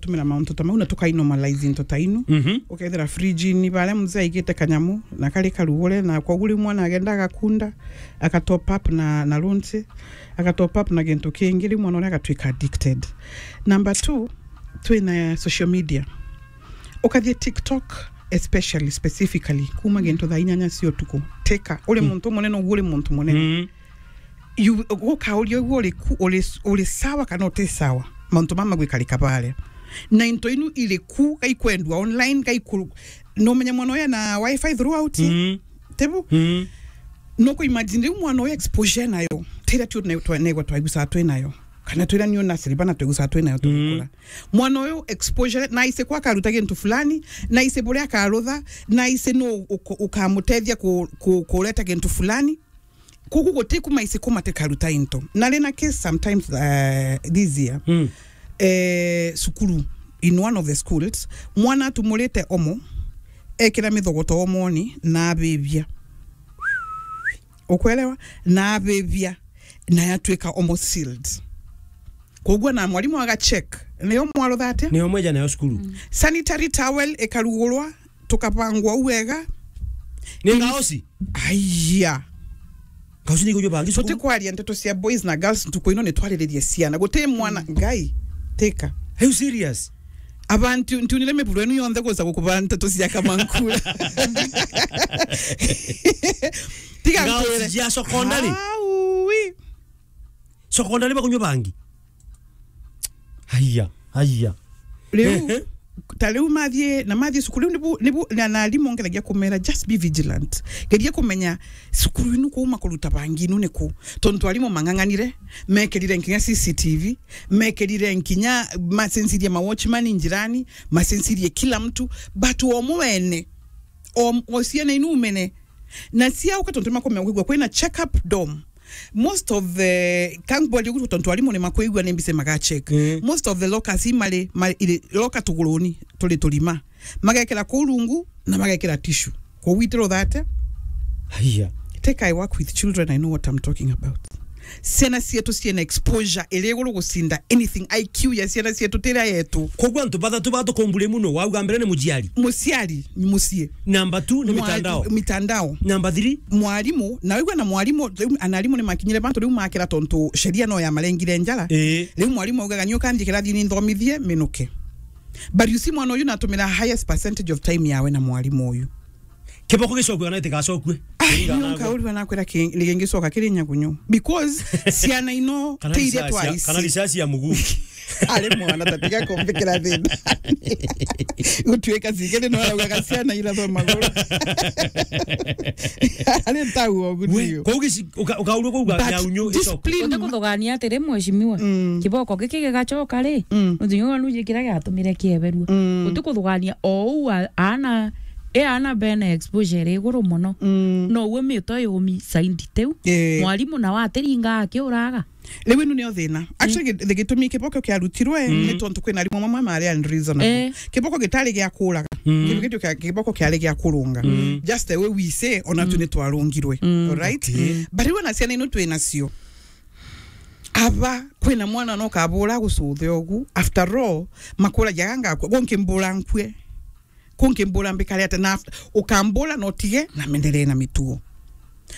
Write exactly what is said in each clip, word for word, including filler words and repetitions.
Tumira mauntu ta mau na tukai normalize into ta inu. Mhm. Ukethira fridge-ini baria mzee aigite kanyamu na kari karugure, na koguo riu mwana agenda agakunda, aka top up na, na lunch, aka top up na gintu kingi, riu mwana uria agatwika addicted. Number two, twina social media. Ukathie TikTok, especially, specifically, kuma gintu thaa inyanya cia utuku. Teka, uri muntu munene, uguo uri muntu munene. Mm. You, gukauria uguo uri ku-, uri, uri sawa kana uti sawa? Mauntu mama gwikarika baria. Na into inu iri ku, gaikwendwa online, gaiku-, no menya mwana uyu ena wifi throughout. Mm. Tibu? Mm. No ku imagine riu mwana uyu exposure nayo. Tira tu ne-, twa-, negwa twaigusaa twi nayo. Kana twira niu na Silvana twaigusaa twi nayo tugikura. Mwana uyu exposure, na aise kwa akaruta gintu fulani, na aise buria akarutha, na aise no uko-, ukamutethia ku-, ku-, kureta gintu fulani. Kugu guti kuma aise kuma tikaruta into. Na rina case sometimes, uh, this year, Mm. eh, cukuru, in one of the schools, mwana atumurite omo, ekira mithogoto omoni, na abibia. Ukwelewa? Na abibia, na yatwika omo sealed. Koguo na mwarimu aga check. Niyo mwarutha atia? Niyo mweja nayo cukuru. Mm. Sanitary towel ikarugurwa, tukabangwa u wega. Ni ngaosi? Aiya. Ngaosi ni kujo bangi cukuru? Tutikwaria ndeto cia boys na girls ntuku ino, ni twariririe ciana. Guti mwana, Ngai, teka. Are you serious? Abantu, ntiunire miburo enu yonthe guca gukuba nteto cia Kamankura. Tiga Ngaosi nkwire. Cia secondary? Aui. Secondary bakunywa bangi? Haiya, haiya. Riu, Ehe. Ta riu mathie, na mathie cukuru, riu nibu, nibu, na, na arimu ngeragia kumera, just be vigilant. Geria kumenya cukuru inu kuu makuruta bangi inu ni ku. Tontu arimu mang'ang'anire, mekirire nkinya C C T V, mekirire nkinya macenjirie ma watchman njirani, macenjirie kila mtu, but o mwene, o, o ciana inu umene, na ciauka tontu makomea kwigua kwina check up dorm. Most of the, kangwali gutu tontu arimu ni makwigua ni mbise maga check. Mm. Most of the lockers imari, ma-, iri locker tuguruni, turi turima. Magekira kuu rungu na magekira tissue. Kuu itiro thate. Haiya. Take, I work with children, I know what I'm talking about. Ciana cietu ciena exposure iri iguru gucinda anything. I Q ya ciana cietu tira yetu. Koguo antu bathatu batukumbure muno, wauga mbere ni muciari. Muciari, mucii. Number two ni mwa-, mitandao. Mitandao. Number three? Mwarimu, na wigua na mwarimu, riu ana arimu ni makinyire bantu riu makira tontu sheria no ya marengire njara. Ii. Riu mwarimu augaga, "Ni ukanthie kirathi ni nthomithie minuke." But you see, mwana uyu natumira highest percentage of time yawe na mwarimu uyu. Kiboko gicokue kana itigacokue? Ai, Kĩringana nio nkaurua nakwira ki-, ni gingicoka kiri nyagunyu. Because ciana ino kana ti iria risasi ya, twaisi. Kana risasi ya muguki. Ari mwana, tatiga kumbikira thina. Gutuika cigiri no araugaga ciana irathwa maguru. Ari tau ogu. We, niu. Kwa ugici-, uka-, ukaurua kuuga. But nyaunyu icoke. Discipline. Utikuthugania atiri, mheshimiwa. Mm. Kiboko giki gigacoka ri? Mm. Nontu nyoga nuje kiria giatumire kieberua. Mm. Utikuthugania o uu a-, aana, e aana bena exposure iguru mono. Mm. No uwe mito yumi saindi tiu. Eh. Mwarimu nawe atiringa akiuraga. Riu inu nio thina. Actually, mm, gi-, gitumi kiboko kiarutirwe, mm, ni tontu kwina arimu amwe mari unreasonable. Eh. Kiboko gitari gia kuraga. Mm. Kiboko kia-, kiboko kiari gia kurunga. Mm. Just the way we say, ona tu, mm, ni twarungirwe. Mm. Alright? Okay. Mm. But riu ona ciana ino twi nacio. Aba, kwina mwana no kabura gucuthe ogu. After all, makuragia ganga akua. Gunkimbura nkue. Kunkimbura mbikare ate na af-, ukambura no tige na mendelee na mitugo.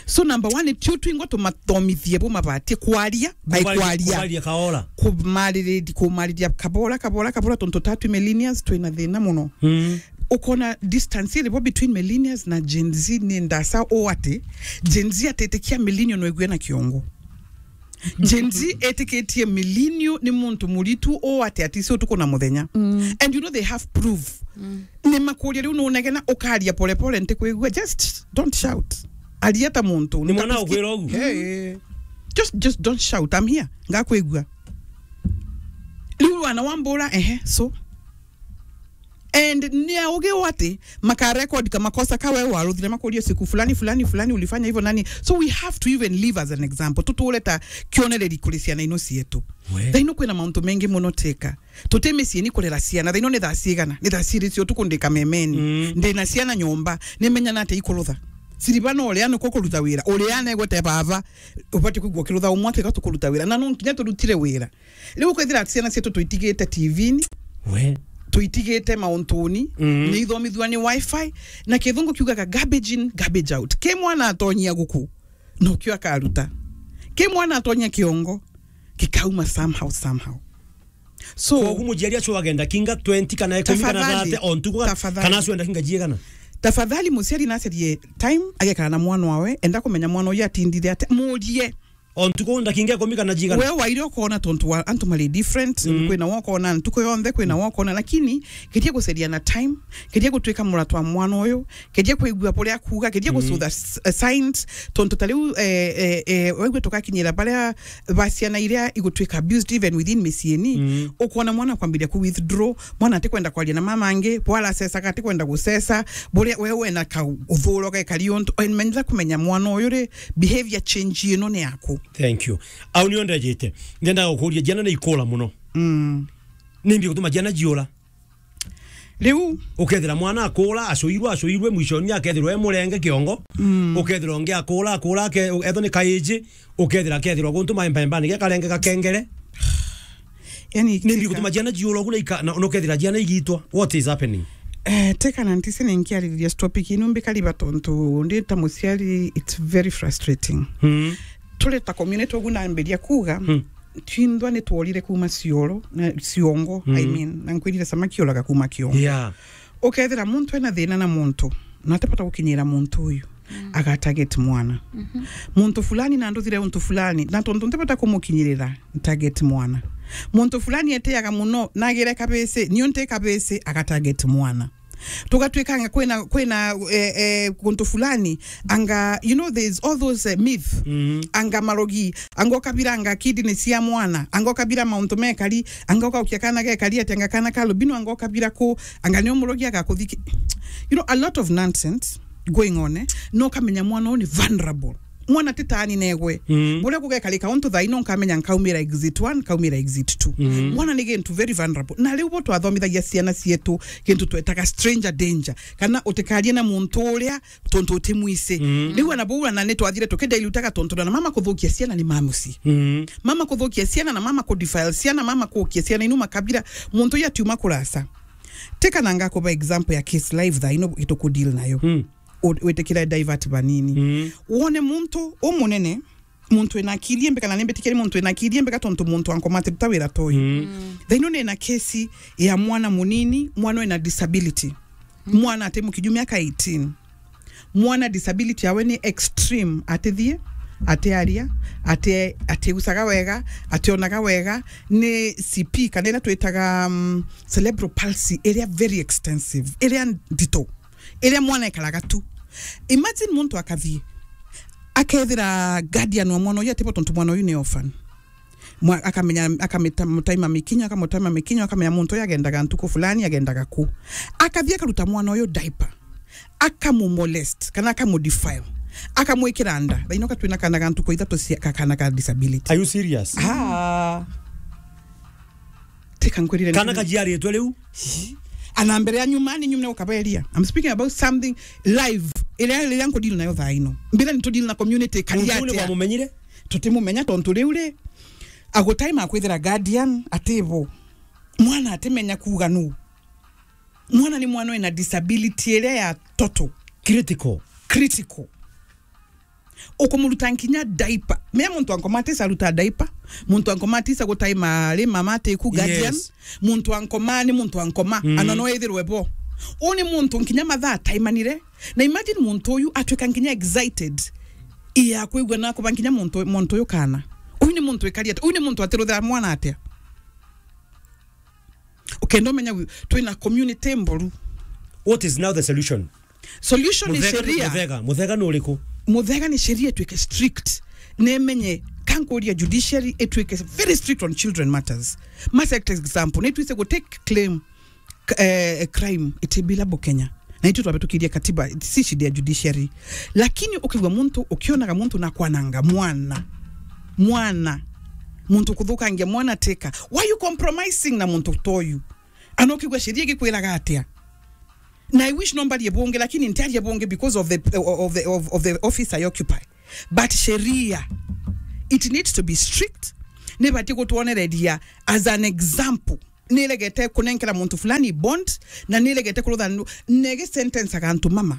So number one, tio twingwa tumathomithie bu mabatie kwaria, by kwaria. Kumaria kaora. Kumariri-, kumariria kabora, kabora, kabora, tontu tatu millennials twina thina muno. Mm. Ukona distance iri bo between millennials na Gen Z ni ndasa o ati, Gen Z atitikia millennial no igwe na kiongo. Gen Z etikitie millennial ni muntu muritu o ati atisi utuku na muthenya. Mm. And you know they have proof. Mm. Ni makuria riu nunegena ukaria pole pole ntikwigua, just don't shout. Aria ta muntu. Ni mwana ukwira ugu. Hey. Just, just don't shout. I'm here. Ngakwigua. Riu wana wambura, ehe, so. And ni auge o ati maka record ka makosa ka wewe waruthire, makuria siku fulani, fulani, fulani ulifanya hivyo nani. So we have to even live as an example. Tuture ta kionereri kuri ciana ino cietu. We. Thaa ino kwina mauntu mengi muno teka. Tuti micii ni kurera ciana. Thaa ino ni thaa cigana? Ni thaa ciiri cia utuku ndi kamemeni. Mm. Ndi na ciana nyomba. Ni menya na ati ikurutha. Siriba no uria niko kuruta wira. Uria negwete baba. Ubati kwigua kirutha umwe ati gatukuruta wira. Na no nkinya turutire wira. Riu kwithira ati ciana cietu tuitigite T V-ini, We. Tuitigite mauntuni, mm, ni ithomithua ni wifi, na kithungu kiugaga garbage in, garbage out. Ki mwana atonyia guku, no kio akaruta. Ki mwana atonyia kiongo, gikauma somehow, somehow. So, kogu muciari acio agenda kinga twenty kana ikumi kana thirty o ntuku, tafadhali, kana acio enda kinga jiegana? Tafadhali, muciari nacerie time, agekara na mwana wawe, enda kumenya mwana uyu atindire ate, murie. O ntuku ndakinga ikumi kana jiegana? We waire ukona tontu wa antu mari different, mm, kwina wa ukona ntuku yonthe, kwina wa ukona, lakini geria guceria na time, geria gutuika muratwa mwana uyu, geria kwigua buria akuuga, geria, mm, gucutha s-, eh, signs, tontu ta riu, eh, eh, eh, waigua tugakinyira baria ba ciana iria igutuika abused even within miciini, mm, ukona mwana kwambiria ku withdraw, mwana atikwenda kwaria na mama angi, bwara acecaga atikwenda guceca, buria we wena ka uthuro gekari untu, and menyera kumenya mwana uyu ri behavior change ino ni yaku. Thank you. Au nio ndejite. Ndenda gukuria, ciana ni ikura muno. Mm. Nimbi gutuma ciana ciura? Riu ukethira mwana akura, acuirwe, acuirwe, mwishoni akethirwa e murenge kiongo. Mm. Ukethira ungi akura, akura, ake-, ethwa ni kaiji, ukethira akethirwa guntu maembaembani, gekarenge gakengere. Yani, nimbi gutuma ciana ciura ugu na ika-, na, na ukethira ciana igitwa? What is happening? Eh, teka na ntisi ni nkiaririria topic ino mbikariba tontu ndi ta muciari, it's very frustrating. Mm. Turi ta community ugu nambiria kuuga, mm, twinthwa ni tworire kuuma cioro, na ciongo, I, mm, mean, na nkwirire samaki uraga kuuma kiongo. Yeah. Ukethira muntu ena thina na muntu, na atibata gukinyira muntu uyu, mm, aga target mwana. Mhm. Muntu fulani na nduthire untu fulani, na tontu ntibata kumukinyirira, target mwana. Muntu fulani etiaga muno, nagire kabisi, niu nti kabisi, aga target mwana. Tugatwikanga kwina, kwina, eh, eh, kuntu fulani, anga, you know, there's all those, eh, myth. Mhm. Anga marogi, anga ukabira anga kidney cia mwana, anga ukabira mauntu mekari, anga ukaukia kana gekari ati, anga kana ka albino, anga ukabira ku, anga ni umurogi agakuthiki. You know, a lot of nonsense going on, eh? No kamenya mwana uyu ni vulnerable. Mwana ti taani negwe. Mm. Buria gugekarika untu thaa ino nkamenya nkaumira exit one, nkaumira exit two. Mm. Mwana ni gintu very vulnerable. Na riu bo twathomithagia ciana cietu gintu twetaga stranger danger. Kana utikarie na muntu uria tontu utimwisi. Mm. Riu ana bau ana ni twathire tukidilutaga tontu na mama kuthukia ciana ni ma mucii. Mm. Mama kuthukia ciana na mama kudefile ciana, mama kuukia ciana inu makabira. Muntu uyu atiuma kurasa. Teka na ngakuba example ya case live thaa ino itukudeal nayo. Mm. U-, witikire divert banini. Mm. Wone muntu umunene, muntu ena akili imbi kana nimbitikire muntu ena akili imbi ka tontu muntu ankomate ruta wira toyu. Mm. Mm. Thaino nina kesi ya mwana munini, mwana ena disability. Mm. Mwana ati mukinyu miaka eighteen. Mwana disability yawe ni extreme, atithie, atiaria, ati, atigucaga wega, ationaga wega, ni C P kana ira twitaga, um, cerebral palsy, iria very extensive, iria ndito. Iria mwana ekaraga tu. Imagine muntu akathie, akethira guardian wa mwana uyu atibo tontu mwana uyu ni orphan. Mwa-, akamenya, akamita-, mutaima mikinyo, akamutaima mikinyo, akamenya muntu uyu agendaga ntuku fulani, agendaga ku. Akathie akaruta mwana uyu diaper. Akamumolest, kana akamudefile. Akamwikira nda. Thaino ka twina kana ga ntuku ithatu cia, ka-, kana ka disability. Are you serious? Ah. Teka nkwirire kana nti- kajiaritwe riu. Ana mbere ya nyuma ni nyuma ukaberia. I'm speaking about something live. Iria, iria nkudeal nayo thaa ino. Mbira ni tudeal na community kari atia. Muntu ni atia? Wamumenyire? Tutimumenya tontu riu ri, agutai makwithira guardian atibo. Mwana atimenya kuuga nu. Mwana ni mwana wina disability iria ya total. Critical. Critical. Ukumuruta nkinya diaper. Mea muntu ankomatisa aruta diaper. Muntu ankomatisa gutaima ri mama atiku guardian. Yes. Muntu ankoma ni muntu ankoma. Mm. Ana no ethirwe bo. Uni muntu nkinya mathaa ataimanire. Na imagine muntu uyu atwika nkinya excited. Iya kwigua na kuba nkinya muntu, muntu uyu kana. Uyu ni muntu ikari atia? Uyu ni muntu atiruthira mwana atia? Ukenda umenya wi-, twina community mboru. What is now the solution? Solution ni sheria. Muthega, muthega ni uriku? Muthega ni sheria itwike strict. Nemenye, kankuria judiciary itwike very strict on children matters. Ma set example, ni twise go take claim, k-, eh, crime itibila bo Kenya. Na itu twabitukiria katiba, si shida ya judiciary. Lakini ukigwa muntu, ukionaga muntu na kwananga mwana. Mwana. Muntu kuthukangia mwana teka. Why you compromising na muntu toyu? Ana ukigwa sheria igikwiraga atia? Na I wish no mbarie bungi, lakini ntiarie bungi because of the, of the, of, of the office I occupy. But sheria, it needs to be strict. Nibati gutwonereria as an example. niregete kunenkera muntu fulani bond, na niregete kurutha ndu-, nege sentence aga antu mama.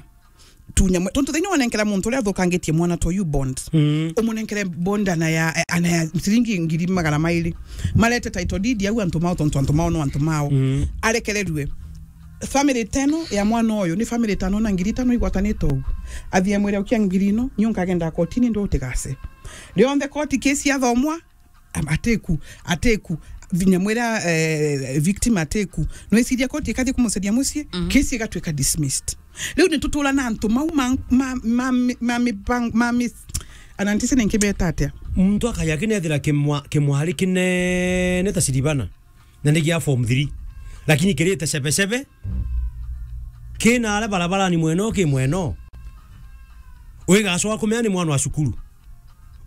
Tunya mwe-, tontu thiini wanenkera muntu uria athukangitie mwana to you bond. Mm. Umunenkere bond ana ya, ana ya ciringi ngiri magana mairi. Marete title deed au antu mao, tontu antu mao no antu mao. Mm. Arekererue. Family teno ya mwana uyu ni family tano na ngiri tano igwatanite ugu. Athie mwire ukia ngiri ino, nyu nkagenda kotini ndu utigase. Rionthe koti kesi yathomwa, am-, atiku, atiku, vinya mwira, eh, victim atiku. Nwiciria koti ikathie kumucaria mucii, mm, kesi igatwika dismissed. Riu ni tutura na antu mau ma, ma, ma, ma, ma, ma, ma, anantisi ni nkibeta atia? Muntu akaya kinethira kimwa-, kimwari kinene ta Siribana. Na ni gia form three. Lakini kirite cebecebe, kina aria barabarani mweno ki mweno. Wigacoka kumenya ni mwana wa cukuru.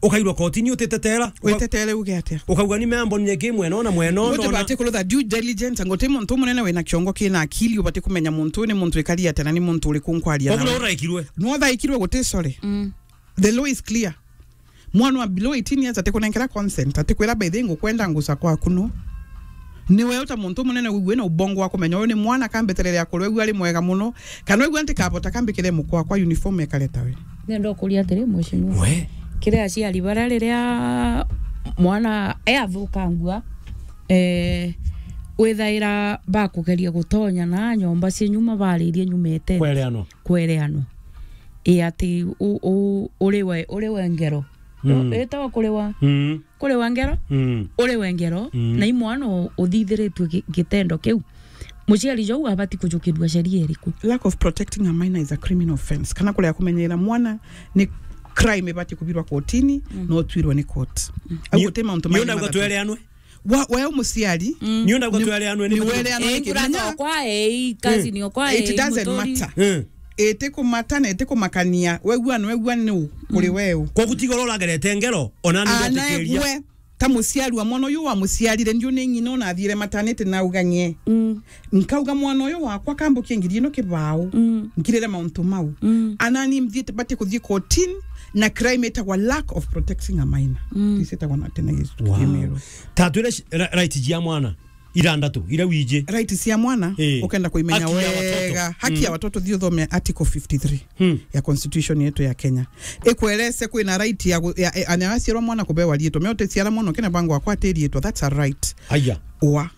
Ukairwa kotini utitetera. Uka-, witetere uge atia? Ukauga ni membo nye ki mweno na mweno. Mutu bati kurutha due diligence, ango ti muntu munene wina kiongo kina akili, ubati kumenya muntu ni muntu ikari atia na ni muntu uriku nkwaria nawe. Koguo no uraikirwe. No thaikirwe guti, sorry. Mm. The law is clear. Mwana wa below eighteen years atikunenkera consent, atikwira, "By the way, ngukwenda nguca kwaku no." Ni we uta muntu munene wigue na ubongo wa kumenya uyu ni mwana kambeterere akurwe, wigue ari mwega muno, kana wigue ntikabota kambikire mukwa kwa uniform ekare tawe. Nenda ukuria atiri, mheshimiwa. We. Kiri aciari baria riria mwana e athukangua, eh, withaira bakugeria gutonya na nyomba cia nyuma baririe nyumete. Kwereanwa. Kwereanwa. I ati u-, u-, uri we, uri we ngero. Mm. Itawa kuriwa. Mm. Kuriwa ngero. Mm. Uri we ngero. Mm. Na i mwana u-, uthithiritue gi-, gitendo kiu. Muciari jou abati kujukirua sheria iriku? Lack of protecting a minor is a criminal offence. Kana kuria kumenyera mwana ni crime ibati kubirwa kotini, mm, na utwirwe ni court. Mm. Au ni-, guti mauntu ni mairi unauga matatu. Twereanwe? Wa, we umuciari. Mm. Ni unauga ni-, twereanwe ni ni muturi. Wereanwe. Eh, ni nkurata kimenya okwa, eh, cousin, mm, okwa, it eh, doesn't muturi. Matter. Mm. Itikumata na itikumakania. Wegua ni wegua ni u, kuri, mm, we u. Koguo tiga uria uragerete ngero, ona ni ana ndetikiria. Egwe, ta muciari wa mwana uyu wamuciarire, ndiu ni ng'ina unathire maternity na ugang'ie. Mm. Nkauga mwana uyu wakwa kambukie ngiri ino kibao. Mm. Nkirire mauntu mau. Mm. Ana ni mthiite bati kuthii kotini na crime itagwa lack of protecting a minor. Mm. Isi itagwa na tena Yesu. Wow. Kimero. Tatwire sh-, ra-, right jia mwana. Irandatu, iria wiji. Right cia mwana, eh, ukenda kuimenya wega. Haki ya watoto. Haki ya watoto, thi uthome article fifty-three, hmm, ya constitution yetu ya Kenya. Ikwerese kwina right ya gu-, ya, ya, ana aciarwa mwana kubewa riitwa. Me uticiara mwana ukina bango akwa ati riitwa. That's a right. Aya. Wa.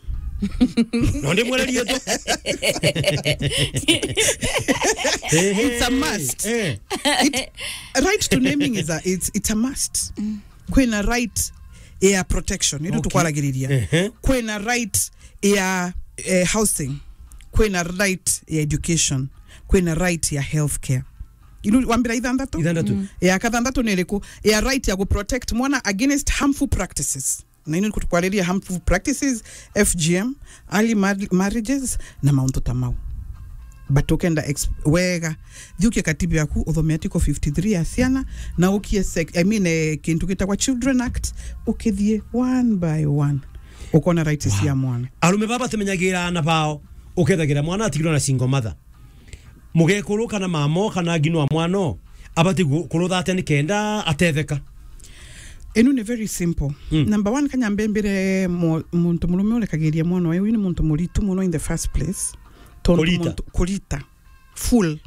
No ndi mwere riitwa. Hey, hey, it's a must. Eh. It, right to naming is a, it's, it's a must. Mm. Kwina right ya protection, iru, okay, tukwaragiria. Ehe. Kwina right ya, eh, housing. Kwina right ya education. Kwina right ya healthcare. Iru wambira ithanthatu? Ithanthatu. Mm. Ya kathanthatu ni iriku? Ya right ya gu protect mwana against harmful practices. Na ino nikutukwariria harmful practices, F G M, early mar-, marriages, na mauntu ta mau. But ukenda ex-, wega, thiukie katiba yaku, uthome article fifty-three ya ciana, na ukie sec-, I mean, eh, kintu gitagwa Children Act, ukithie one by one. Ukona rights, wow, cia mwana. Arume baba batimenyagira ana bao, ukethagira mwana atigirwo na single mother. Mugekuru kana mamo kana ngino wa mwana o, abati gu-, kurutha atia nikenda atetheka? Inu ni very simple. Mm. Number one, kanyambe mbire mo-, muntu murume urekagiria mwana uyu, uyu ni muntu muritu muno in the first place. Tondu kurita. Muntu, kurita. Full.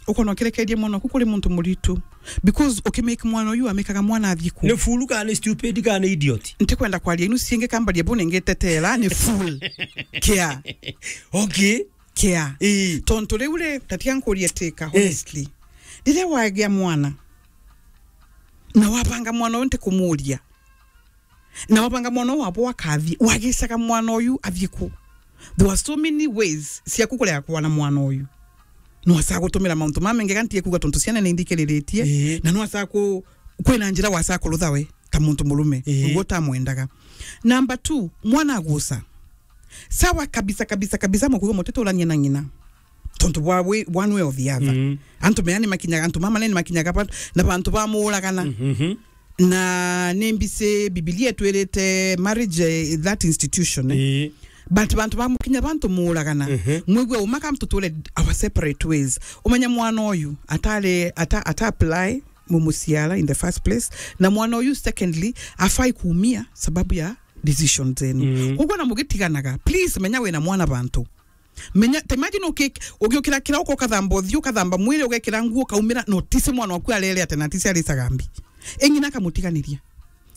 Ukona ukirekeria mwana oku kuri muntu muritu. Because ukimake mwana uyu, amekaga mwana athii ku? Ni fool kana ni stupid kana ni idiot? Ntikwenda kwaria inu ciingi kambaria bu ningitetera ni fool. Kia. Okay. Kia. Ii. Tontu riu ri, tatia nkurie tika, eh, honestly. Riria wagia mwana, na wabanga mwana uyu ntikumuria, na wabanga mwana uyu wabo akathii, wagicaga mwana uyu athii ku? There were so many ways cia kukurega kwana mwana uyu. Nwasaa gutumira mauntu mamaingi, ga ntie kuuga tontu ciana ni nthikiriritie, ii, na nwasaa ku-, kwina njira wasaa kurutha we ta muntu murume, ii, uguo utamwendaga. Number two, mwana aguca. Sawa kabisa, kabisa, kabisa, mukuuga mutiturania na ng'ina. Tontu bwa wi-, one way or the other. Mm. Antu mea ni makinyaga, antu mama ni makinyaga ba-, na bantu bamuuragana. Mm-hmm. Na ni mbisi Bibilia itwirite marriage, eh, that institution, eh. Ii. But bantu bamukinya bantu muuragana. Mhm. Mwigua uma kam tuture our separate ways. Umenya mwana uyu atari, ata-, ata apply mumuciara in the first place. Na mwana uyu secondly, afai kuumia sababu ya decision zenu. Mm. Koguo na mugitiganaga, please menya wina mwana bantu. Menya, te imagine uki-, ugiukira kirauko ukathamba uthio, ukathamba mwiri, ugekira nguo, ukaumira, notice mwana waku arere atia, na atisi aricaga mbi. Eng'ina akamutiganiria.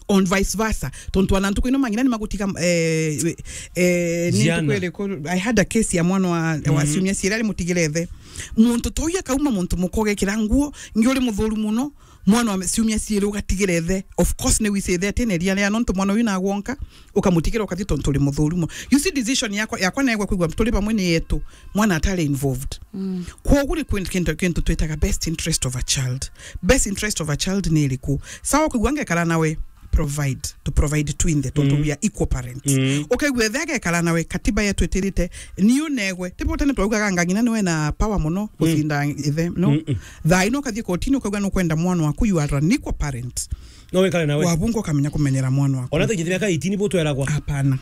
On vice versa. Tontu ana ntuku ino mang'ina ni magutiga, eh, eh, ni Ziana. Ntuku iriku, I had a case ya mwana wa, wa Mm. ciumia ciiri ari mutigire ithe. Muntu ta uyu akauma muntu muka ugekira nguo, ngi uri muthuru muno, mwana wa ciumia ciiri ugatigira ithe. Of course, ni wise ithe ati ni ria ria, nontu mwana uyu nagwonka, ukamutigira ukathi tontu uri muthuru muno. You see, decision yakwa, yakwa negwe kwigua turi bamwe ni yetu, mwana atari involved. Mm. Kwogu ri kwin-, kintu, kintu twitaga best interest of a child. Best interest of a child ni iriku? Sawa, kwigua ngekara nawe, provide, to provide twinthe, tontu Mm. we are equal parents. Mm. Ukaigua ithe agekara nawe, katiba yetu itirite, ni unegwe. Tibo tene twaugaga anga ng'ina niwe na power muno Mm. gucinda ithe, no? Mm-mm. Thaa ino ukathie kotini, ukaigua nukwenda mwana waku, you are an equal parent. No wikare nawe. Wabunga ukamenya kumenyera mwana waku. Ona tujite miaka eighteen bo tweragwa. Hapana.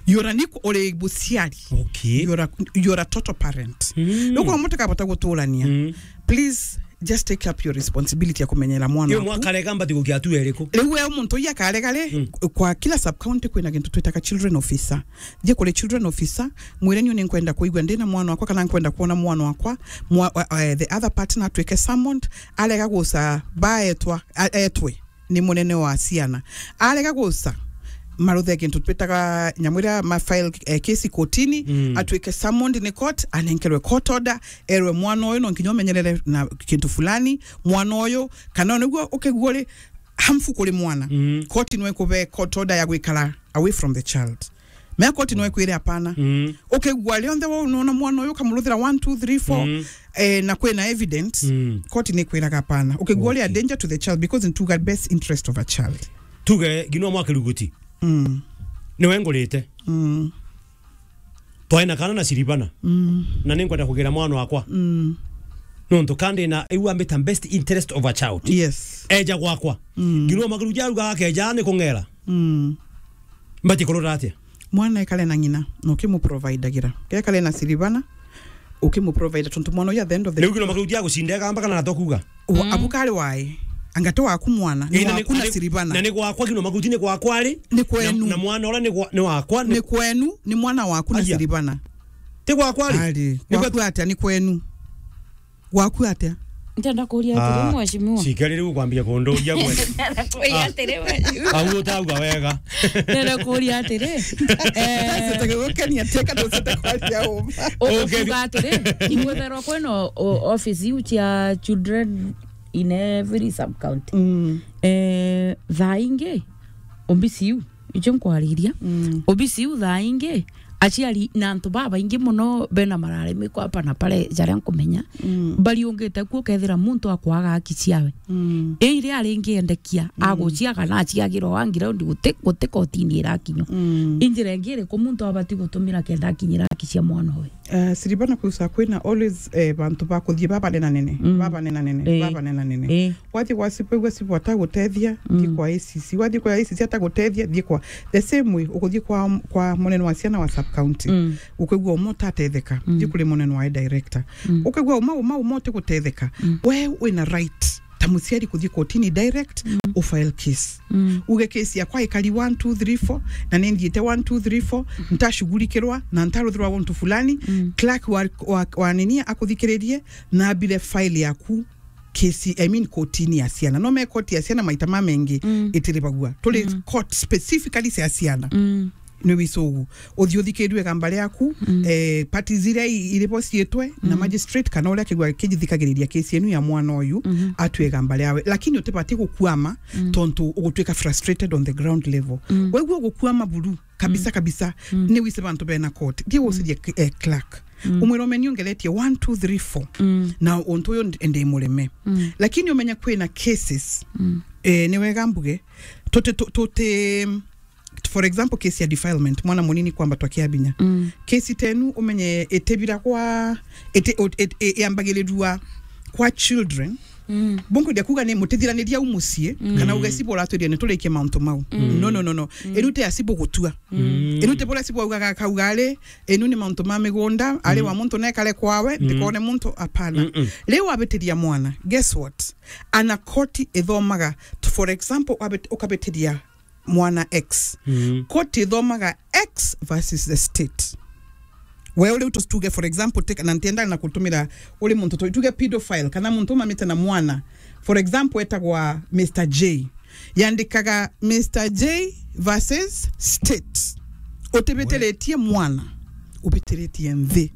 You are an equal, uri muciari. Okay. You are a, you are a total parent. Mm. Nuko mutu kabata guturania. Mm. Please, just take up your responsibility ya kumenyera mwana Iyo waku. Mwakarega mbati gukia tu eriku. Riu we muntu uyu akarega ri, Mm. kwa kila sub county kwina gintu twitaga children officer. Thie kuri children officer, mwire niu ninkwenda kuigua ndina mwana wakwa kana nkwenda kuona mwana wakwa, mwa-, wa-, eh, the other partner atuike summoned, arega guca baetwa, a-, etwe ni munene wa ciana. Arega guca, maruthe kintu twitaga nyamu iria ma file, eh, case kotini, Mm. atuike summoned ni court, anenkerwe court order, erwe mwana uyu no nkinya umenyerere na kintu fulani, mwana uyu, kana niguo ukigua uri harmful kuri mwana. Mm. Court no ikube court order ya gwikara away from the child. Mea koti no ikwire hapana. Mm. Ukigua rionthe we unaona mwana uyu ukamuruthira one, two, three, four, Mm. eh, na kwina evidence, Mm. koti ni ikwiraga hapana. Ukigua uri a Okay. danger to the child because ntuga best interest of a child. Tuge, ngino mwa kiruguti. Mm. Niwe ngurite. Mm. Twaina kana na Siribana. Mm. Na ninkwenda kugira mwana wakwa. Mm. Nontu kandi na iu ambita best interest of a child. Yes. Eja gwakwa. Mm. Ngino makiruguti aruga akeja ni kung'era. Mm. Mbati kurora atia? Mwana ekare na ng'ina, na ukimuprovidagira. Gekare na Siribana, ukimuprovida tontu mwana uyu at the end of the Riu ngino makiruguti agucinda egamba kana natokuga? Wa-, Mm. abu kari wae. Anga ti waku mwana, ni Ina ni-, waku na ni-, Siribana. Na ni gwakwa ngino makiruguti ni gwakwa ri? Ni kwenu. Na, na mwana ura ni gwa-, ni wakwa, ni Ni kwenu, ni mwana waku na Aya. Siribana. Ti gwakwa ri? Ari, Ni gwa- gwaku atia ni kwenu? Gwaku atia? Ntenda kuria atiri, Ah, mheshimiwa. Cikari riu kwambia kunduria gwe. Ntenda kuria Ah. atiri, mheshimiwa. Au utauga wega. Ntenda kuria atiri. Eh, Ndacete gukenia teka, ndocete kwaria uma. U-, Okay. Ukuga atiri, ingwetherwa kwina o-, office iu cia children in every sub county. Mm. Eh, thaa ingi, ombisi iu, icio nkwariria. Mm. Ombisi iu thaa ingi, aciari na antu babaingi muno bena mararimi kwa hapa na pale, jaria nkumenya, Mm. bariungite kuo, ukethira muntu akwaga haki ciawe. Mm. Ii iria aringiendekia, Mm. agucia kana aciagirwa wa ground guti, guti kotini irakinywa. Mm. Injira ingi iriku muntu abati gutumira kenda akinyira haki cia mwana uyu? Eh, Siribana kusa kwina always, eh, bantu ba kuthie babanenanene, Mm. babanenanene, Eh. babanenanene. Eh. Wathie gwa cibu, igua cibu atagutethia, Mm. thie kwa A C C. Wathie kwa A C C atagutethia, thie kwa, the same way, ukuthie kwa, kwa munene wa ciana wa sub county. Mm. Ukaigua umwe utatetheka, Mm. thie kuri munene wa director. Mm. Ukaigua uma, uma, uma utigutetheka. Mm. We wina right ta muciari kuthie kotini direct, Mm. ufile case. Mm. Uge case yakwa ikari one, two, three, four, na ninthiite one, two, three, four, ntashughulikirwa, na ntaruthirwa guntu fulani, Mm. clerk wa, wa, wa nini akuthikiririe, na abire file yaku case, I mean, kotini ya ciana. No me koti ya ciana maita mamengi Mm. itiribagua. Turi Mm. court specifically cia ciana. Mm. Ni wicugu. Uthii uthikirue igamba riaku, Mm. eh, parties iria i-, iribo ciitwe na Mm. magistrate kana uria akigua kijithikagiriria case yenu ya mwana uyu, Mhm. atue igamba riawe. Lakini utibati gukuama Mm. tontu ugutuika frustrated on the ground level. Mm. Wegua ugukuama buru, kabisa, Mm. kabisa, Mm. ni wise bantu bena court. Thii gucirie k-, eh, clerk. Mm. Umwire, "Umeni ongeretie one, two, three, four. Mm. Na untu uyu ndi, ndi mureme." Mm. Lakini umenye kwina cases, Mm. eh, ni wega mbuge, tuti, tu-, tuti, for example, case ya defilement, mwana munini kwambatwa kiabinya. Mm. Case tenu umenye itibira kwa, iti-, ut-, it-, i-, yambagirirua kwa children. Mm. Bungu ndia kuga ni mutithiraniria u mucii, Mm. kana uge cibu uratwiria ni turikie mauntu mau. Mm. No, no, no, no. Mm. Inu ti ya cibu gutua. Mm. Inu ti buria cibu augaga akauga ari, inu ni mauntu ma migunda, ari Mm. wa muntu nekare kwawe, Mm. ndikone muntu, apana. Mm-mm. Riu wabitiria mwana, guess what? Ana koti ithomaga, for example, wabit-, ukabitiria mwana X. Mm. Court ithomaga X versus the state. We uri utuge, for example, take, na ntienda na kutumira uri muntu tu-, tuge pedophile, kana muntu umamite na mwana. For example, etagwa Mister J. Yandikaga Mister J versus state. Utibitiritie mwana, ubitiritie nthi.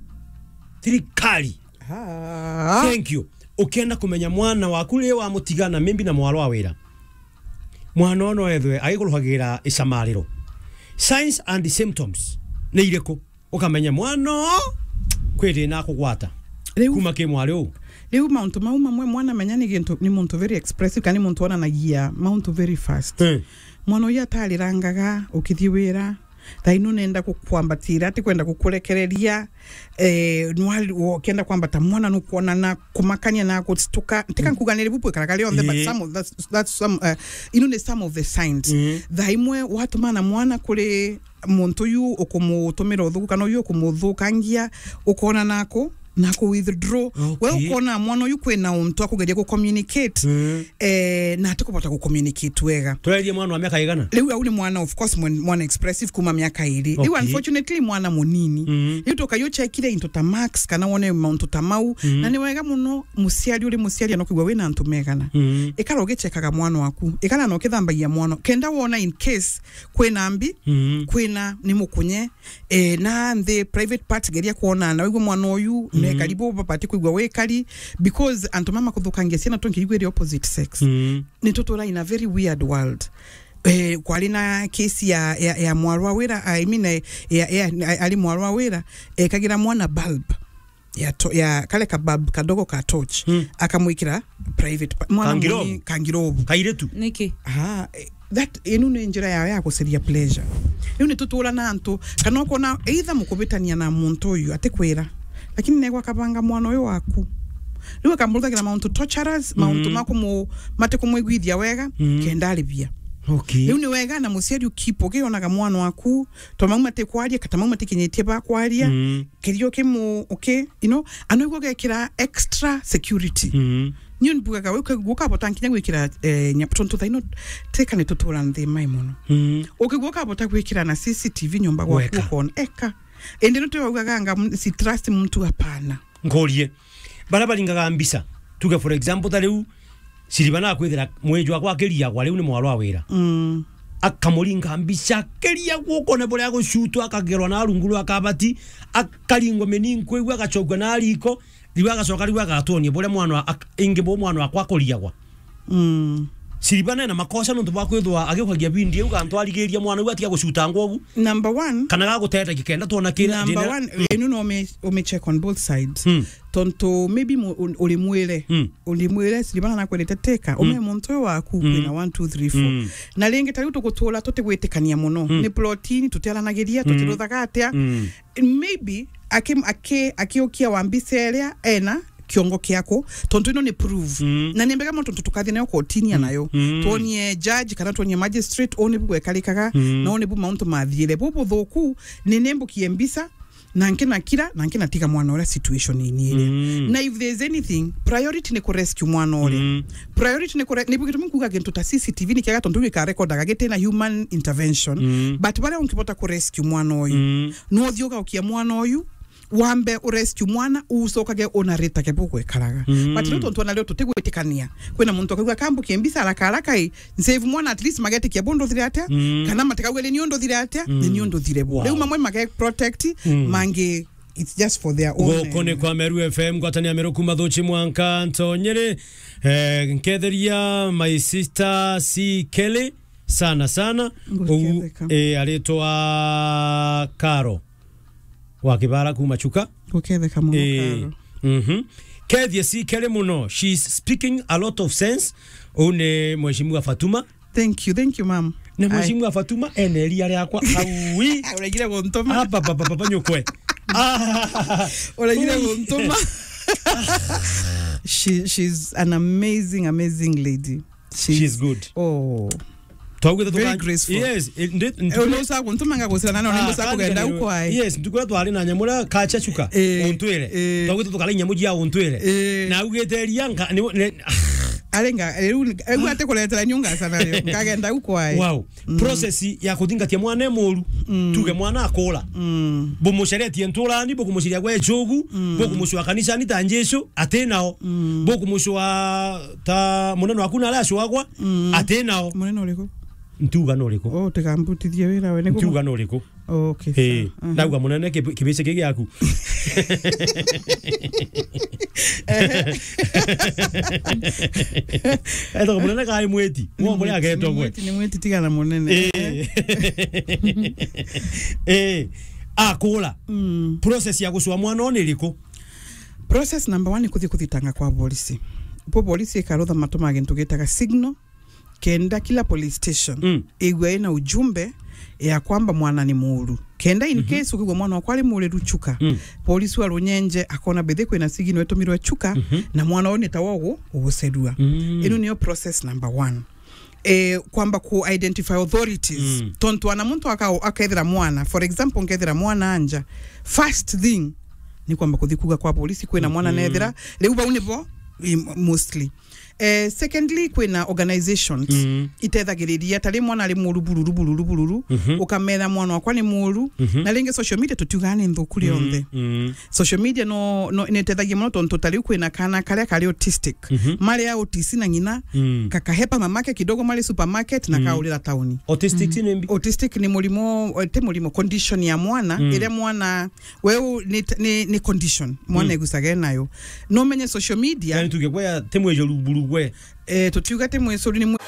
Thirikari. Ah. Thank you. Ukienda kumenya mwana waku ri wamutigana maybe na mwarwa wira, mwana ono ethwe agikuruhagira icamariro. Signs and symptoms ni iriku? Ukamenya mwana oo kwi thina akugwata. Riu kuma ki mwari uu. Riu mauntu mau mamwe mwana menya ni gintu, ni muntu very expressive, kana ni muntu onanagia mauntu very fast. Eh. Mwana uyu atarirangaga ukithii wira, thaini unenda gukwambatira, ati kwenda gukurekereria, eh, nwali-, ukienda kwambata mwana nukwona na kumakania na gustuka. Tika nkuga ni ribu bwikaraga rionthe, but some of that's, that's some, uh, inu ni some of the signs. Mm. Thaa imwe watumana mwana kuri muntu uyu ukumutumira uthuku kana uyu ukumuthukangia, ukona nako, nako withdraw. Okay. We ukona mwana uyu kwina untu akugeria gucommunicate, mm, eh, na atikubota gucommunicate wega. Turerie mwana wa miaka igana? Riu au ni mwana, of course, mwen-, mwana expressive kuma miaka iri. Riu, okay, unfortunately, mwana munini. Mm. Riu tukayu chekire into ta marks kana wone mauntu ta mau. Mm. Na ni wega muno muciari uri muciari anokwigua wina antu megana. Mm. Ikara ugichekaga mwana waku. Ikara na ukithambagia mwana. Kenda wona in case kwina mbi, mm, kwina ni mukunye, eh, na nthi private part geria kwona na wigwe mwana uyu, mm, ne karibu babati kwigua wi kari, because antu mama kuthukangia ciana tungirigwa iri opposite sex. Mm. Ni tutura in a very weird world. Eh, kwari na case ya, ya, ya mwarwa wira, I mean, eh, ya, ya, ari mwarwa wira, ekagira mwana bulb ya to-, ya kale ka bulb kadogo ka torch, mm, akamwikira private pa-, mwana kangirobu. Muni-, kangirobu. Kairitu. Niki? Ah, eh, that, inu ni njira yao ya guceria pleasure. Riu ni tutura na antu, kana ukona either mukubitania na muntu uyu atikwira, lakini negwa akabanga mwana uyu waku. Riu akamuruthagira mauntu torturers, mauntu, mm, ma kumu-, matikumwiguithia wega, mm, kenda aribia. Okay. Riu ni wega na muciari ukipo ukionaga mwana waku, to mau matikwaria, kata mau matikinyitie ba kwaria, mm, kirio kimu, okay, you know, anoigua ugekira extra security. Mm. Niu mbugaga we ukaigua ukabota nkinya gwikira, eh, nya-, tontu thaino teka ni tutura nthi mai muno. Mm. Ukigua ukabota gwikira na C C T V nyomba gwaku, weka, ukona, eka. Indi ni tuwaugaga anga m-, si trust muntu, hapana. Nkurie. Bara baringaga mbica. Tuge for example, ta riu Siriba nakwithira mwiji wakwa akiriagwa, riu ni mwarwa wira. Mm. Akamuringa mbica, akiriagwa ukone buria agucutwa, akagerwa na rungu rwa kabati, akaringwa mininko iu, agacokua na riko, riu agacoka riu agatwonia buria mwana wa-, ak-, ingi bu mwana wakwa akuriagwa. Mm. Siriba nena makosa nontu bwa kwithwa agiukagia video iu, gantu arigiria mwana u atiga gucutangwa ugu. Number one. Kana gagutethegia kenda twona kira. Number one, enu no ume-, ume check on both sides. Mm. Tontu maybe mu-, u-, uri mwire. Mm. Uri mwire, Siriba na nakwendete teka, mm, ume muntu uyu waku, mm, kwina one, two, three, four. Mm. Na ringi ta riu tugutura tutigwitikania muno. Mm. Ni plotini, tutiaranagiria, mm, tutiruthaga atia. Mm. Maybe aki-, aki-, akiukia wa mbica iria ena kiongo kiaku, tontu ino ni proof. Mm. Na ni mbega muno tontu tukathie nayo kotini, mm, anayo. Mm. Twonie judge kana twonie magistrate, uni bu gwekarikaga, mm, na uni bu mauntu mathiire. Bu buthuku, ni nimbukie mbica, na nkina kira, na nkina tiga mwana uria situation ini iria. Mm. Na if there is anything, priority ni ku rescue mwana uria. Mm. Priority ni ku re-, ni bu gitumi nkuga gintu ta C C T V ni kiega tontu gikarecordaga gitina human intervention. Mm. But baria ungibota ku rescue mwana uyu, mm, no uthie ugaukia mwana uyu, wambe u rescue mwana, ucokage unaritage bugwikaraga. Mm. But riu tontu ona rio tutigwitikania, kwina muntu akauga, "Kambukie mbica haraka haraka i, nsave mwana, at least magetikia bu nduthire atia, mm, kana matikauge ni niu nduthire atia, ni, mm, niu nduthire bu." Wow. Riu mamwe mage protect, mm, mangi it's just for their own, guku ni, eh, kwa Meru F M, ngwatania Meru kuma Thuchi mwanka Ntonyere. Eh, nketheria my sister C Kelly sana sana. Nguketheka. Uu, eh, aritwa Karo wa Kibara kuma Chuka. Nguketheka muno, eh, Karo. Mhm. Kethie C Kelly muno. She's speaking a lot of sense. Uu ni Mheshimiwa Fatuma. Thank you, thank you, ma'am. Na ai, Mheshimiwa Fatuma, ene eria riakwa, aui. Uregire guntuma. Ah, papa, papa, papa, nyukwe. Ah. Uregire guntuma. She, she's an amazing, amazing lady. She's, she's good. Oh. Twaugite very tuka-, graceful. Yes, eh, ndi-, eh, ntuku-, uni usa guntuma ngagucira na none, ah, ndusa kugenda ukwai. Yes, ntuku iria twari na nyamu iria kacha chuka, eh, untwire. Eh. Twaugite tukara nyamu jia untwire. Eh. Na augite eria nka-, ni, ni, ah. Arenga, riu, riu atikuretera nyunga sana riu. Nkagenda u kwae. Wow. Mm. Process ya kuthingatia mwana e muru. Mm. Tuge mwana akura. Mm. Bumuceretie nturani, bukumuciria gwe icugu, mm, bukumucua kanisani ta Jesu, ati nao. Mm. Bukumucua ta munene waku na aria acwagwa, mm, ati nao. Munene uriku? Ntiuga no uriku. Oh, tigambutithie wira we, ni kuma- Ntiuga no uriku. Okay, eh, sawa. Aha. Ndauga munene kibi-, kibici ki giaku. Etagwo munene kai mwiti? Ni mwiti, agetagwo ni mwiti, ni mwiti, tiga na munene. Eh. Eh, akura. Mm. Process ya gucua mwana ni iriku? Process number one ni kuthi kuthitanga kwa polisi. Bo polisi ikarutha matuma gintu gitaga signal, kenda kila police station, mm, igwe ina ujumbe ya kwamba mwana ni muru. Kenda in, mhm, case ukigwa mwana wakwa ari muriru Chuka, mm, polisi wa Runyenje akona bethe kwina signal itumirwe Chuka, mhm, na mwana uyu ni tawa ugu ugucerua. Mm. Ino niyo process number one. Eh, kwamba ku identify authorities. Mm. Tontu ana muntu aka-, akethira mwana, for example, nkethira mwana anja, first thing ni kwamba kuthi kuga kwa polisi kwina mwana, mhm, nethira. Riu bau nibo, i-, mostly. Eh, secondly, kwina organizations, mm, itethagiriria, ta ri mwana ari muru bururu, bururu, bururu, mhm, ukamera mwana wakwa ni muru, mhm, na ringi social media tutiugaga ni nthuku rionthe. Mm, mm. Social media no, no, nitethagia muno tontu ta riu kwina kana karia kari autistic. Mhm. Mari a O T C na ng'ina, mm, kakahepa mamake kidogo mari supermarket na, mm, kaurira tauni. Autistic, mm, ni mbi? Autistic ni murimo, ti murimo, condition ya mwana, mm, iria mwana, we u-, ni, ni, ni condition mwana, mm, egucaga enayo. No menye social media. Yani tuge gwe ti mwicoru buru gwe. Eh, tutiuga ti mwicoru, ni mwi-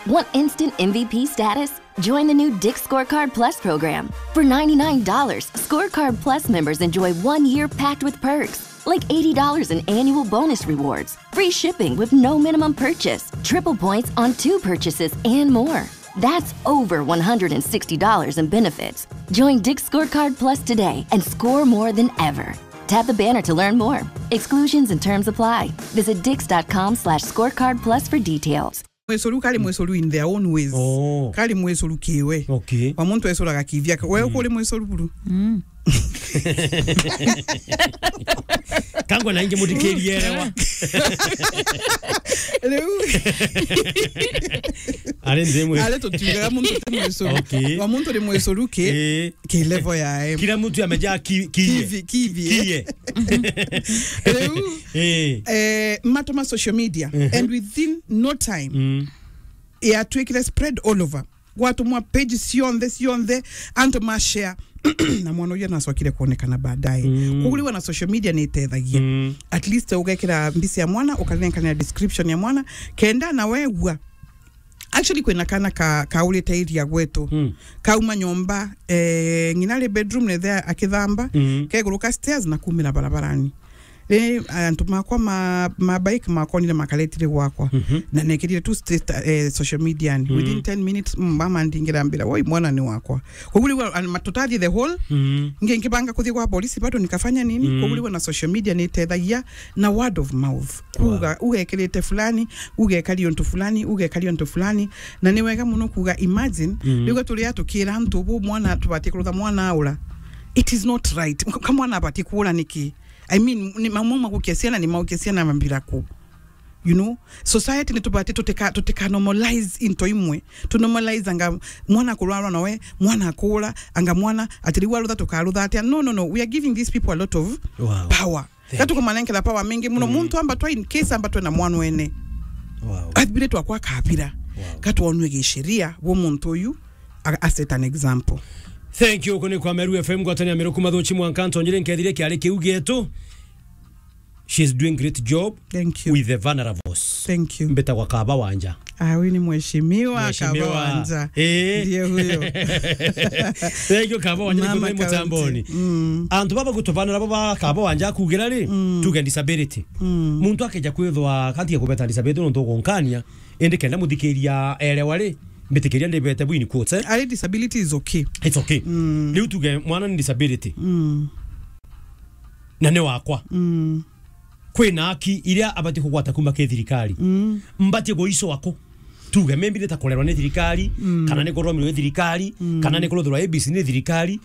Want instant M V P status? Join the new Dick's Scorecard Plus program. For ninety-nine dollars, Scorecard Plus members enjoy one year packed with perks, like eighty dollars in annual bonus rewards, free shipping with no minimum purchase, triple points on two purchases, and more. That's over one hundred and sixty dollars in benefits. Join Dick's Scorecard Plus today and score more than ever. Tap the banner to learn more. Exclusions and terms apply. Visit dicks dot com slash scorecard plus for details. Mwicoru kari mwicoru in their own ways. Oh. Kari mwicoru kiwe. Okay. Wa muntu ecuraga kivyake. We, mm, ukuri mwicoru buru? Mm. Kangwa na ingi muthikirie erewa. Riu. Ari nthi imwe. Ari tutiugaga muntu ti mwicoru. Okay. Wa muntu ni mwicoru ki, eh, ki level yae. Kila mtu amejaa ki-, kiye. Kivi-, kivi, eh. Kiye. Riu, eh, eh, matuma social media, mhm, and within no time, mm, yatwikire spread all over. Gwatumwa page cionthe, cionthe, antu ma share. Na mwana uyu nacokire kuonekana baadaye. Mm. Koguo riu na social media ni itethagia. Mm. At least ugekira mbica ya mwana, ukanenkana description ya mwana, kenda na wegua. Actually, kwina kana ka-, kaurite area gwetu. Mm. Kauma nyomba, eh, ng'ina ari bedroom, nethe akithamba, mm, keguruka stairs na kumira barabarani. Ri antu makwa ma, ma bike makonire makaretire gwakwa. Mhm. Na nekirire tu state, eh, social media ni. Mm. Within ten minutes, mm, mama ndingira mbira, "Woi, mwana ni wakwa." Koguo riu, an-, ma-, tutathie the whole, mm, ngi-, ngibanga kuthie kwa polisi bado nikafanya nini? Mm. Koguo riu na social media ni itethagia na word of mouth. Kuga, wow, ugekirite fulani, ugekari untu fulani, ugekari untu fulani. Na ni wega muno kuga, imagine, mm, riu turi a tukira antu bu mwana tubati kurutha mwana aura. It is not right. Ka mwana abati kuura niki? I mean, ni mamwe magukia ciana, ni maukia ciana mambira ku. You know, society ni tubati tutika, tutika normalize into imwe. Tu normalize anga mwana akurwarwa nawe, mwana akura, anga mwana ati riu arutha tukarutha atia. No, no, no. We are giving these people a lot of, wow, power. Thank you. Gatukumanenkera power mingi muno. Mm. Muntu amba twa in case amba twe na mwana wene. Wow. Athire twakwa kabira. Wow. Gatwonwe gisheria bo muntu uyu a, a set an example. Thank you. Kuni kwa Meru F M, ngwatania Meru kuma thuchi mwanka ntonyire nkethire kiari kiu gietu. She is doing great job. Thank you. With the vulnerables. Thank you. Mbetagwa Kaba Wanja. Ah, huyu ni mheshimiwa, mheshimiwa Kaba Wanja. Eh. Ndiye huyo. Thank you, Kaba Wanja, mama nikuthai mutamboni. Kaunti. Mm. Antu baba gutuvanira bo ba Kaba Wanja kugira ri, mm, tuge disability. Mm. Muntu akeja kwithwa kanti ya kubeta disability nontu ugunkania, indi kenda muthikiria erewa ri, mbitikiria ndibete bwini quotes, eh? Ari disability is okay. It's okay. Mm. Riu tuge mwana ni disability. Mm. Na ni wakwa. Mm. Kwina haki iria abati kugwata kuma ki thirikari. Mm. Mbati guicwa ku? Tuge, maybe ni ta kurerwa ni thirikari, mm, kana ni kuromirwo ni thirikari, mm, kana ni kuruthirwa A B C ni thirikari. Ni